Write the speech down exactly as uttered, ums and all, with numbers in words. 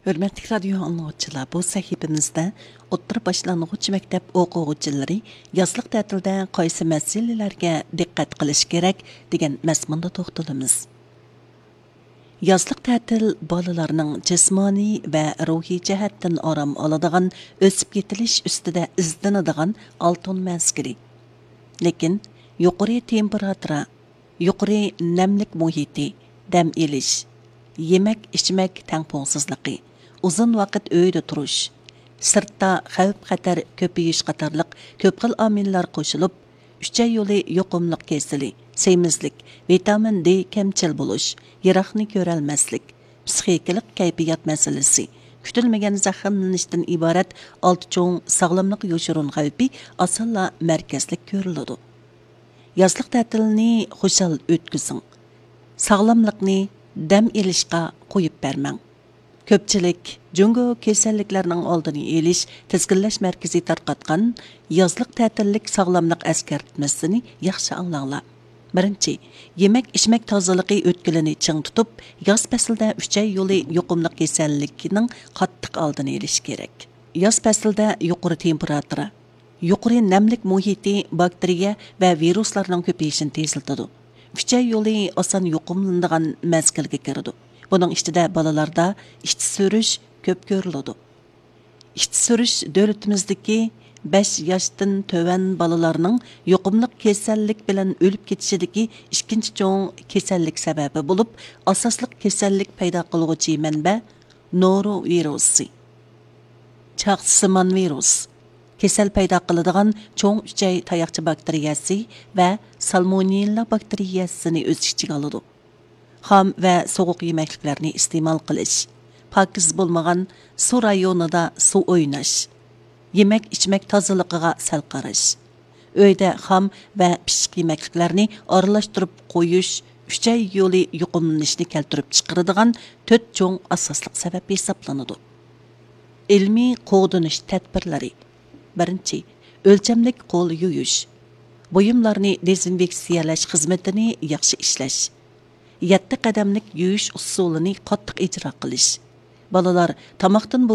ھۆرمەتلىك رادىيو ئاڭلىغۇچىلار، بۇ سەھىپىمىزدە ئوتتۇرا باشلانغۇچ مەكتەپ ئوقۇغۇچىلىرى يازلىق تەتىلدە قايسى مەسىلىلەرگە دىققەت قىلىشى كېرەك دېگەن مەزمۇندا توختىلىمىز. يازلىق تەتىل بالىلارنىڭ جىسمانىي ۋە روھىي جەھەتتىن ئارام ئالىدىغان، ئۆسۈپ يېتىلىش ئۈستىدە ئىزدىنىدىغان ئالتۇن مەزگىلى. لېكىن يۇقىرى تېمپېراتۇرا، يۇقىرى نەملىك مۇھىتى، دەم ئېلىش، يېمەك-ئىچمەك تەڭپۇڭسىزلىقى، ئۇزۇن ۋاقىت ئۆيدە تۇرۇش، سىرتتا خەۋپ-خەتەر كۆپىيىش قاتارلىق كۆپ خىل ئامىللار قوشۇلۇپ، ئۈچەي يولى يۇقۇملۇق كېسىلى، سېمىزلىك، ۋىتامىن دې كەمچىل بولۇش، يىراقنى كۆرەلمەسلىك، پىسخىكىلىق كەيپىيات مەسىلىسى، كۈتۈلمىگەن زەخىملىنىشتىن ئىبارەت ئالتە چوڭ ساغلاملىق يوشۇرۇن خەۋپى ئاسانلا مەركەزلىك كۆرۈلىدۇ. يازلىق تەتىلنى خۇشال ئۆتكۈزۈڭ. ساغلاملىقنى دەم ئېلىشقا قويۇپ بەرمەڭ. كۆپچىلىك جۇڭگو كېسەللىكلەرنىڭ ئالدىنى ئېلىش تىزگىنلەش مەركىزى تارقاتقان يازلىق تەتىللىك ساغلاملىق ئەسكەرتمىسىنى ياخشى ئاڭلاڭلار. بىرىنچى، يېمەك-ئىچمەك تازىلىقى ئۆتكىلىنى چىڭ تۇتۇپ، ياز پەسلىدە ئۈچەي يولى يۇقۇملۇق كېسەللىكىنىڭ قاتتىق ئالدىنى ئېلىش كېرەك. ياز پەسلىدە يۇقىرى تېمپېراتۇرا، يۇقىرى نەملىك مۇھىتى باكتېرىيە ۋە ۋىرۇسلارنىڭ كۆپىيىشىنى تېزلىتىدۇ. ئۈچەي يولى ئاسان يۇقۇملىنىدىغان مەزگىلگە كىرىدۇ. بۇنىڭ ئىچىدە بالىلاردا ئىچ سۈرۈش كۆپ كۆرۈلىدۇ. ئىچ سۈرۈش دۆلىتىمىزدىكى بەش ياشتىن تۆۋەن بالىلارنىڭ يۇقۇملۇق كېسەللىك بىلەن ئۆلۈپ كېتىشىدىكى ئىككىنچى چوڭ كېسەللىك سەۋەبى بولۇپ، ئاساسلىق كېسەللىك پەيدا قىلغۇچى مەنبە نورو ۋىرۇسى، چاغسىمان ۋىرۇس، كېسەل پەيدا قىلىدىغان چوڭ ئۈچەي تاياقچە باكتېرىيەسى ۋە سالمونېللا باكتېرىيەسىنى ئۆز ئىچىگە ئالىدۇ. خام ۋە سوغۇق يېمەكلىكلەرنى ئىستېمال قىلىش، پاكىز بولمىغان سۇ رايونىدا سۇ ئويناش، يېمەك-ئىچمەك تازىلىقىغا سەل قاراش، ئۆيدە خام ۋە پىششىق يېمەكلىكلەرنى ئارىلاشتۇرۇپ قويۇش ئۈچەي يولى يۇقۇملىنىشنى كەلتۈرۈپ چىقىرىدىغان تۆت چوڭ ئاساسلىق سەۋەب ھېسابلىنىدۇ. ئىلمىي قوغدىنىش تەدبىرلىرى. بىرىنچى، ئۆلچەملىك قول يۇيۇش. بۇيۇملارنى دېزىنفېكسىيەلەش خىزمىتىنى ياخشى ئىشلەش. يەتتە قەدەملىك يۇيۇش ئۇسۇلىنى قاتتىق ئىجرا قىلىش. بالىلار تاماقتىن بۇرۇن